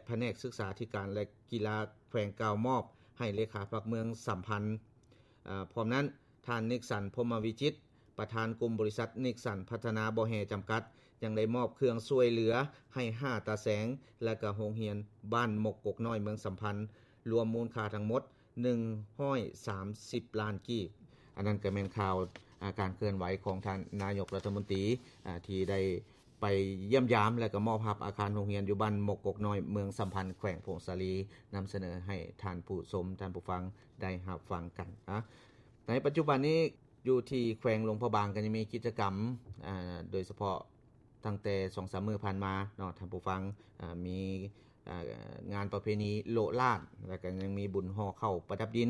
ພະແນກສຶກສາທິການ ແລະ ກິລາແຂວງກ່າວມອບໃຫ້ເລຂາພັກເມືອງສຳພັນ. ອາ ພ້ອມນັ້ນ, ທ່ານ ນິກສັນ ພົມມະວິຈິດ ປະທານກຸ່ມບໍລິສັດ ນິກສັນ ພັດທະນາບໍ່ແຮ່ ຈຳກັດ ຍັງໄດ້ມອບເຄື່ອງຊ່ວຍເຫຼືອໃຫ້ຫ້າຕາແສງ ແລະ ກະໂຮງຮຽນບ້ານມົກກົກນ້ອຍ ເມືອງສຳພັນ ລວມມູນຄ່າທັງໝົດ ໜຶ່ງຮ້ອຍສາມສິບລ້ານກີບ. ອັນນັ້ນກໍແມ່ນຂ່າວ ອາ ການເຄື່ອນໄຫວຂອງທ່ານນາຍົກລັດຖະມົນຕີ ອາ ທີ່ໄດ້ໄປຢ້ຽມຢາມ ແລະ ກໍມອບຮັບອາຄານໂຮງຮຽນຢູ່ບ້ານມົກກົກນ້ອຍ ເມືອງສຳພັນ ແຂວງຜົ້ງສາລີ ນຳສະເໜີໃຫ້ທ່ານຜູ້ຊົມ ທ່ານຜູ້ຟັງໄດ້ຮັບຟັງກັນ. ອາ ໃນປັດຈຸບັນນີ້ ຢູ່ທີ່ແຂວງຫຼວງພະບາງກໍຍັງມີກິດຈະກຳ ອາ ໂດຍສະເພາະຕັ້ງແຕ່ສອງສາມມື້ຜ່ານມາເນາະ ທ່ານຜູ້ຟັງ ອາ ມີ ອາ ງານປະເພນີໂລະລາດ ແລ້ວກໍຍັງມີບຸນຫໍ່ເຂົ້າປະດັບດິນ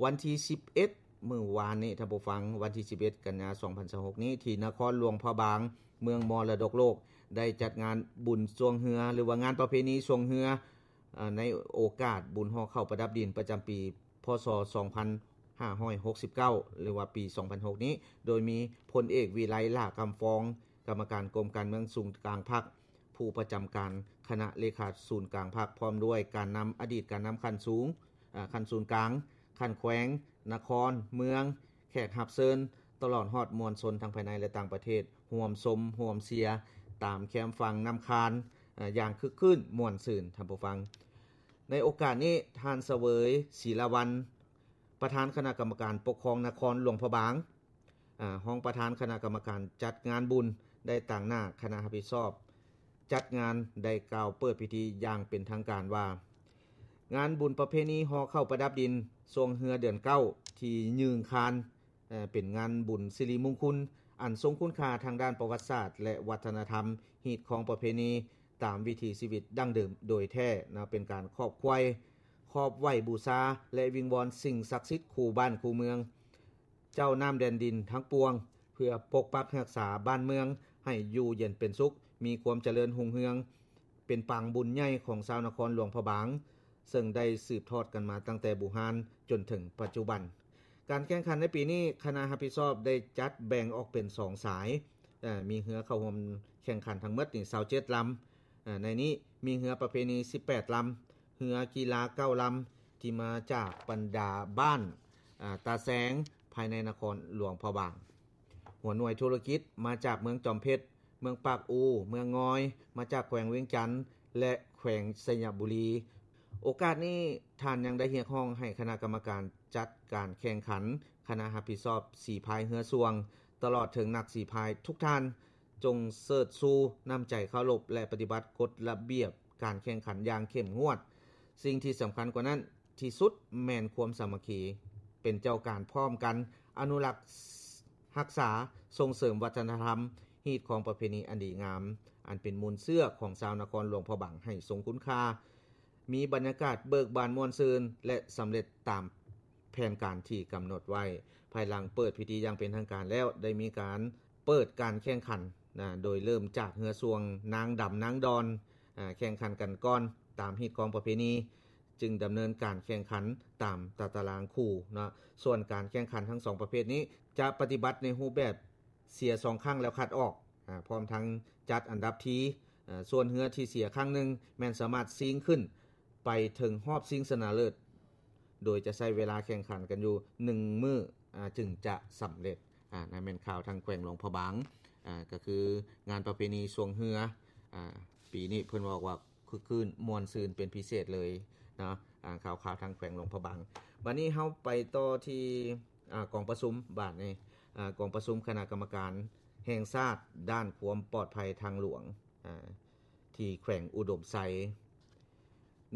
ວັນທີສິບເອັດ ມື້ວານນີ້ ທ່ານຜູ້ຟັງ ວັນທີສິບເອັດ ກັນຍາ ສອງພັນຊາວຫົກນີ້ ທີ່ນະຄອນຫຼວງພະບາງ ເມືອງມໍລະດົກໂລກ ໄດ້ຈັດງານບຸນຊ່ວງເຮືອ ຫຼືວ່າງານປະເພນີຊ່ວງເຮືອ ອາ ໃນໂອກາດບຸນຫໍ່ເຂົ້າປະດັບດິນປະຈຳປີ ພ.ສ. ສອງພັນຫ້າຮ້ອຍຫົກສິບເກົ້າ ຫຼືວ່າປີສອງພັນຫົກນີ້ ໂດຍມີພົນເອກ ວິໄລ ຫຼ້າຄຳຟອງ ກຳມະການກົມການເມືອງສູນກາງພັກ, ຜູ້ປະຈຳການຄະນະເລຂາສູນກາງພັກ ພ້ອມດ້ວຍການນຳ ອະດີດການນຳຂັ້ນສູງ ອາ ຂັ້ນສູນກາງ, ຂັ້ນແຂວງ, ນະຄອນ, ເມືອງ, ແຂກຮັບເຊີນ ຕະຫຼອດຮອດມວນຊົນທັງພາຍໃນ ແລະ ຕ່າງປະເທດ ຮ່ວມຊົມຮ່ວມເຊຍຕາມແຄມຝັ່ງນ້ຳຄານ ອາ ຢ່າງຄຶກຄື້ນມ່ວນຊື່ນ. ທ່ານຜູ້ຟັງ ໃນໂອກາດນີ້ ທ່ານ ສະເຫວີຍ ສີລາວັນ ປະທານຄະນະກຳມະການປົກຄອງນະຄອນຫຼວງພະບາງ, ອາ ຮອງປະທານຄະນະກຳມະການຈັດງານບຸນ ໄດ້ຕາງໜ້າຄະນະຮັບຜິດຊອບຈັດງານ ໄດ້ກ່າວເປີດພິທີຢ່າງເປັນທາງການວ່າ ງານບຸນປະເພນີຫໍ່ເຂົ້າປະດັບດິນຊ່ວງເຮືອເດືອນເກົ້າ ທີ່ຍືງຄານ ເປັນງານບຸນສິລິມຸງຄຸນ ອັນຊົງຄຸນຄ່າທາງດ້ານປະຫວັດສາດ ແລະ ວັດທະນະທຳ, ຮີດຄອງປະເພນີ ຕາມວິຖີຊີວິດດັ້ງເດີມໂດຍແທ້ນະ, ເປັນການຂອບໄຫວ້ ຂອບໄຫວ້ບູຊາ ແລະ ວິງວອນສິ່ງສັກສິດຄູ່ບ້ານຄູ່ເມືອງ, ເຈົ້ານ້ຳແດນດິນທັງປວງ ເພື່ອປົກປັກຮັກສາບ້ານເມືອງໃຫ້ຢູ່ເຢັນເປັນສຸກ, ມີຄວາມຈະເລີນຮຸ່ງເຮືອງ, ເປັນປາງບຸນໃຫຍ່ຂອງຊາວນະຄອນຫຼວງພະບາງ, ເຊິ່ງໄດ້ສືບທອດກັນມາຕັ້ງແຕ່ບູຮານຈົນເຖິງປັດຈຸບັນ. ການແຂ່ງຂັນໃນປີນີ້ ຄະນະຮັບຜິດຊອບໄດ້ຈັດແບ່ງອອກເປັນສອງສາຍ, ເອີ ມີເຮືອເຂົ້າຮ່ວມແຂ່ງຂັນທັງໝົດນີ້ຊາວເຈັດລຳ, ເອີ ໃນນີ້ມີເຮືອປະເພນີສິບແປດລຳ, ເຮືອກິລາເກົ້າລຳ ທີ່ມາຈາກບັນດາບ້ານ ອາ ຕາແສງ ພາຍໃນນະຄອນຫຼວງພະບາງ. ຫົວໜ່ວຍທຸລະກິດມາຈາກເມືອງຈອມເພັດ, ເມືອງປາກອູ, ເມືອງງອຍ, ມາຈາກແຂວງວຽງຈັນ ແລະ ແຂວງໄຊຍະບູລີ. ໂອກາດນີ້ ທ່ານຍັງໄດ້ຮຽກຮ້ອງໃຫ້ຄະນະກຳມະການຈັດການແຂ່ງຂັນ, ຄະນະຮັບຜິດຊອບສີພາຍເຮືອຊ່ວງ, ຕະຫຼອດເຖິງນັກສີພາຍທຸກທ່ານ, ຈົ່ງເຊີດຊູນ້ຳໃຈເຄົາລົບ ແລະ ປະຕິບັດກົດລະບຽບການແຂ່ງຂັນຢ່າງເຂັ້ມງວດ. ສິ່ງທີ່ສຳຄັນກວ່ານັ້ນ ທີ່ສຸດແມ່ນຄວາມສາມັກຄີ, ເປັນເຈົ້າການພ້ອມກັນອະນຸລັກ, ຮັກສາ, ສົ່ງເສີມວັດທະນະທຳ, ຮີດຄອງປະເພນີອັນດີງາມ, ອັນເປັນມູນເຊື້ອຂອງຊາວນະຄອນຫຼວງພະບາງໃຫ້ຊົງຄຸນຄ່າ, ມີບັນຍາກາດເບີກບານມ່ວນຊື່ນ ແລະ ສຳເລັດຕາມແຜນການທີ່ກຳນົດໄວ້. ພາຍຫຼັງເປີດພິທີຢ່າງເປັນທາງການແລ້ວ, ໄດ້ມີການເປີດການແຂ່ງຂັນນະ, ໂດຍເລີ່ມຈາກເຮືອຊ່ວງນາງດຳນາງດອນ, ອາ, ແຂ່ງຂັນກັນກ່ອນຕາມຮີດຄອງປະເພນີ. ຈຶ່ງດຳເນີນການແຂ່ງຂັນຕາມຕາຕະລາງຄູ່ເນາະ. ສ່ວນການແຂ່ງຂັນທັງສອງປະເພດນີ້ ຈະປະຕິບັດໃນຮູບແບບເສຍສອງຄັ້ງແລ້ວຄັດອອກ, ອາ, ພ້ອມທັງຈັດອັນດັບທີ, ອາ, ສ່ວນເຮືອທີ່ເສຍຄັ້ງໜຶ່ງແມ່ນສາມາດຊິງຂຶ້ນໄປເຖິງຮອບຊິງຊະນະເລີດ, ໂດຍຈະໃຊ້ເວລາແຂ່ງຂັນກັນຢູ່ໜຶ່ງມື້, ອາ, ຈຶ່ງຈະສຳເລັດ. ອາ, ນັ້ນແມ່ນຂ່າວທາງແຂວງຫຼວງພະບາງ, ອາ, ກໍຄືງານປະເພນີຊ່ວງເຮືອ, ອາ, ປີນີ້ເພິ່ນບອກວ່າ ຄຶກຄື້ນມ່ວນຊື່ນເປັນພິເສດເລີຍເນາະ. ອາ, ຂ່າວໆທາງແຂວງຫຼວງພະບາງ. ບັດນີ້ເຮົາໄປຕໍ່ທີ່, ອາ, ກອງປະຊຸມບາດນີ້, ອາ, ກອງປະຊຸມຄະນະກຳມະການແຫ່ງຊາດດ້ານຄວາມປອດໄພທາງຫຼວງ, ອາ, ທີ່ແຂວງອຸດົມໄຊ.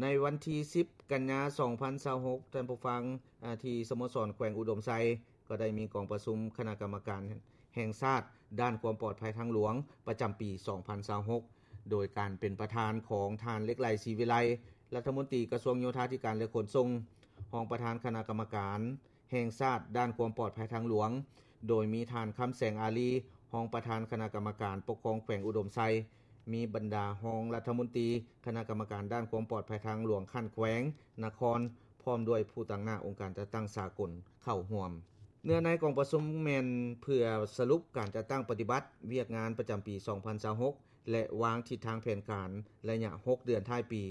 ໃນວັນທີສິບ ກັນຍາ ສອງພັນຊາວຫົກ, ທ່ານຜູ້ຟັງ, ອາ, ທີ່ສະໂມສອນແຂວງອຸດົມໄຊ ກໍໄດ້ມີກອງປະຊຸມຄະນະກຳມະການແຫ່ງຊາດດ້ານຄວາມປອດໄພທາງຫຼວງປະຈຳປີສອງພັນຊາວຫົກ ໂດຍການເປັນປະທານຂອງທ່ານ ເລັກໄຫຼ ສີວິໄລ ລັດຖະມົນຕີກະຊວງໂຍທາທິການ ແລະ ຂົນສົ່ງ, ຮອງປະທານຄະນະກຳມະການແຫ່ງຊາດດ້ານຄວາມປອດໄພທາງຫຼວງ, ໂດຍມີທ່ານ ຄຳແສງ ອາລີ ຮອງປະທານຄະນະກຳມະການປົກຄອງແຂວງອຸດົມໄຊ, ມີບັນດາຮອງລັດຖະມົນຕີ, ຄະນະກຳມະການດ້ານຄວາມປອດໄພທາງຫຼວງຂັ້ນແຂວງ, ນະຄອນ, ພ້ອມດ້ວຍຜູ້ຕາງໜ້າອົງການຈັດຕັ້ງສາກົນເຂົ້າຮ່ວມ. ເນື້ອໃນກອງປະຊຸມແມ່ນເພື່ອສະຫຼຸບການຈັດຕັ້ງປະຕິບັດວຽກງານປະຈຳປີສອງພັນຊາວຫົກ ແລະ ວາງທິດທາງແຜນການໄລຍະຫົກເດືອນທ້າຍປີ